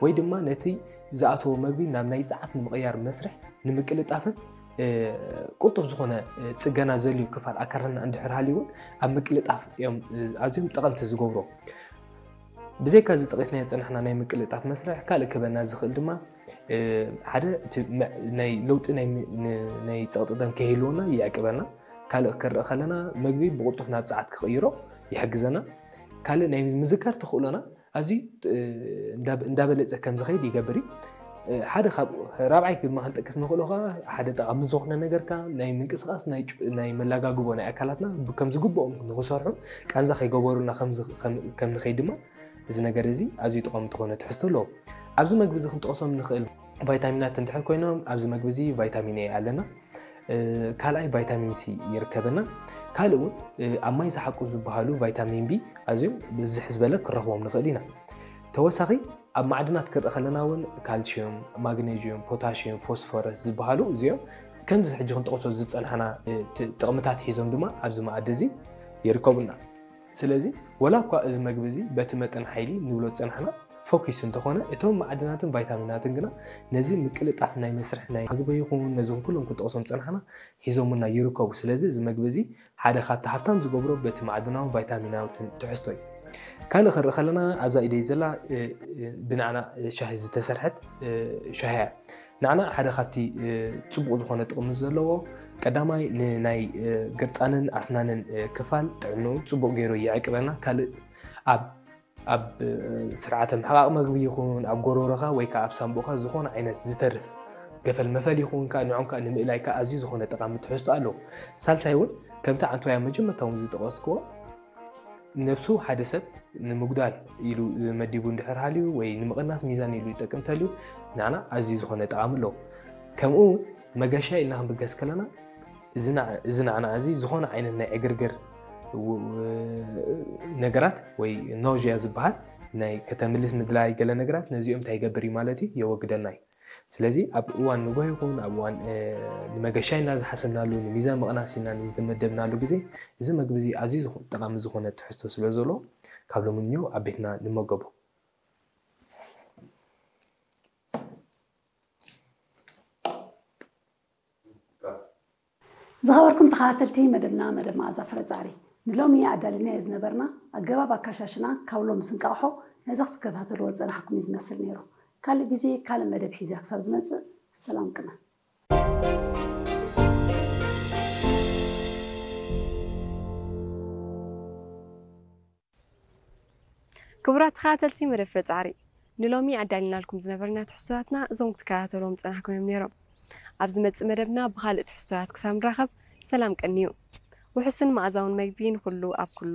ወይ ድማ ነቲ ዝኣተዎ መግቢ ናብ ናይ ጸዓት ንምቕያር መስርሕ ንምቅልጣፍን ቅልጡፍ ዝኾነ ጽገና ዘልዩ ክፋል ኣካላትና እንድሕር ሃልዩ እውን ኣብ ምቅልጣፍ እዮም ኣዝዮም ጠቐምቲ ዝገብሩ። ብዘይካ እዚ ጠቒስናዮ ዝጸናሕና ናይ ምቅልጣፍ መስርሕ ካልእ ክበና ዝኽእል ድማ ሓደ እቲ ናይ ለውጢ ናይ ጸቕጢ ደም ከይህልወና ይዕቅበና። ካልእ ክርኢ ከለና መግቢ ብቕልጡፍ ናብ ጸዓት ክቕይሮ ይሕግዘና። ካልእ ናይ ምዝካር ተኽእሎና ኣዝዩ እንዳበለፀ ከም ዝኸይድ ይገብር እዩ። ሓደ ካብ ራብዓይ ድማ ክንጠቅስ ንኽእሎ ከዓ ሓደ ጠቓሚ ዝኾነ ነገርካ ናይ ምንቅስቃስ ናይ መላጋግቦ ናይ ኣካላትና ከም ዝግብኦም ንኽሰርሑ ቃንዛ ከይገበሩና ከም ንኸይድ ድማ እዚ ነገር እዚ ኣዝዩ ጠቓሚ ዝኾነ ትሕዝቶ ኣለዎ። ኣብዚ መግቢ እዚ ክንጠቕሶም ንኽእል ቫይታሚናት እንድሕር ኮይኖም ኣብዚ መግቢ እዚ ቫይታሚን ኤ ኣለና። ካልኣይ ቫይታሚን ሲ ይርከበና። ካልእ እውን ኣብ ማይ ዝሓቁ ዝበሃሉ ቫይታሚን ቢ ኣዝዮም ብዝሕ ዝበለ ክረኽቦም ንኽእል ኢና። ተወሳኺ ኣብ ማዕድናት ክርኢ ከለና እውን ካልሽዮም፣ ማግኔዥዮም፣ ፖታሽዮም፣ ፎስፎረስ ዝበሃሉ እዚኦም ከምዚ ሕጂ ክንጠቕሶ ዝፀናሕና ጥቕምታት ሒዞም ድማ ኣብዚ መኣዲ እዚ ይርከቡና። ስለዚ ወላ እኳ እዚ መግቢ እዚ በቲ መጠን ሓይሊ ንብሎ ዝፀናሕና ፎኪስ እንተኾነ እቶም ማዕድናትን ቫይታሚናትን ግና ነዚ ምቅልጣፍ ናይ መስርሕ ናይ ምግቢ ይኹን ነዞም ኩሎም ክጠቕሶም ዝፀናሕና ሒዞምና ይርከቡ። ስለዚ እዚ መግቢ እዚ ሓደ ካብቲ ሃብታም ዝገብሮ በቲ ማዕድናውን ቫይታሚናትን ትሕዝቶ እዩ። ካልእ ክርኢ ከለና ኣብዛ ኢደይ ዘላ ብናዕና ሻሂ ዝተሰርሐት ሻሂ እያ። ናዕና ሓደ ካብቲ ፅቡቕ ዝኾነ ጥቕሚ ዘለዎ ቀዳማይ ንናይ ገርፃንን ኣስናንን ክፋል ጥዕንኡ ፅቡቕ ገይሩ ይዕቅበና። ካልእ ኣብ ኣብ ስርዓተ ምሕቓቕ መግቢ ይኹን ኣብ ጎሮሮኻ ወይ ከዓ ኣብ ሳምቦኻ ዝኾነ ዓይነት ዝተርፍ ገፈል መፈል ይኹን ከዓ ንዖም ከዓ ንምእላይ ከዓ ኣዝዩ ዝኾነ ጠቓሚ ትሕዝቶ ኣለዎ። ሳልሳይ እውን ከምቲ ዓንቶያ መጀመርታ እውን ዝጠቐስክዎ ነብሱ ሓደ ሰብ ንምጉዳል ኢሉ መዲቡ እንድሕር ሃልዩ ወይ ንምቕናስ ሚዛን ኢሉ ይጠቅም ተልዩ ንዓና ኣዝዩ ዝኾነ ጠቓሚ ኣለዎ። ከምኡ እውን መገሻ ኢልና ክንብገስ ከለና እዚ ንዓና እዚ ዝኾነ ዓይነት ናይ ዕግርግር ነገራት ወይ ኖዥያ ዝበሃል ናይ ከተምልስ ምድላይ ገለ ነገራት ነዚኦም እንታይ ይገብር እዩ ማለት እዩ የወግደልና እዩ። ስለዚ ኣብ እዋን ንጎሆ ይኹን ኣብ እዋን ንመገሻ ኢልና ዝሓሰብናሉ ንሚዛን ምቕናስ ኢልና ንዝተመደብናሉ ግዜ እዚ መግቢ እዚ ኣዝዩ ጠቓሚ ዝኾነ ትሕዝቶ ስለ ዘሎ ካብ ሎሚ ንዮ ኣብ ቤትና ንመገቦ። ዝኸበርኩም ተኸታተልቲ መደብና መደብ መኣዛ ፍረፃሪ ንሎሚ ኣዳልናዮ ዝነበርና ኣገባብ ኣካሻሽና ካብ ሎምስ እንቃቕሖ ነዚ ክትከታተልዎ ዝፀናሕኩም እዩ ዝመስል ነይሩ። ካልእ ግዜ ካልእ መደብ ሒዘ ክሳብ ዝመፅእ ሰላም ቅነ። ክቡራት ተኸታተልቲ መደብ ፍረ ፃዕሪ ንሎሚ ኣዳሊናልኩም ዝነበርና ትሕዝቶታትና እዞም ክትከታተልዎም ዝፀናሕኩም እዮም ነይሮም። ኣብ ዝመፅእ መደብና ብኻልእ ትሕዝቶታት ክሳብ ንራኸብ ሰላም ቀንዩ። ውሑስን መኣዛውን መግቢ ንኹሉ ኣብ ኩሉ።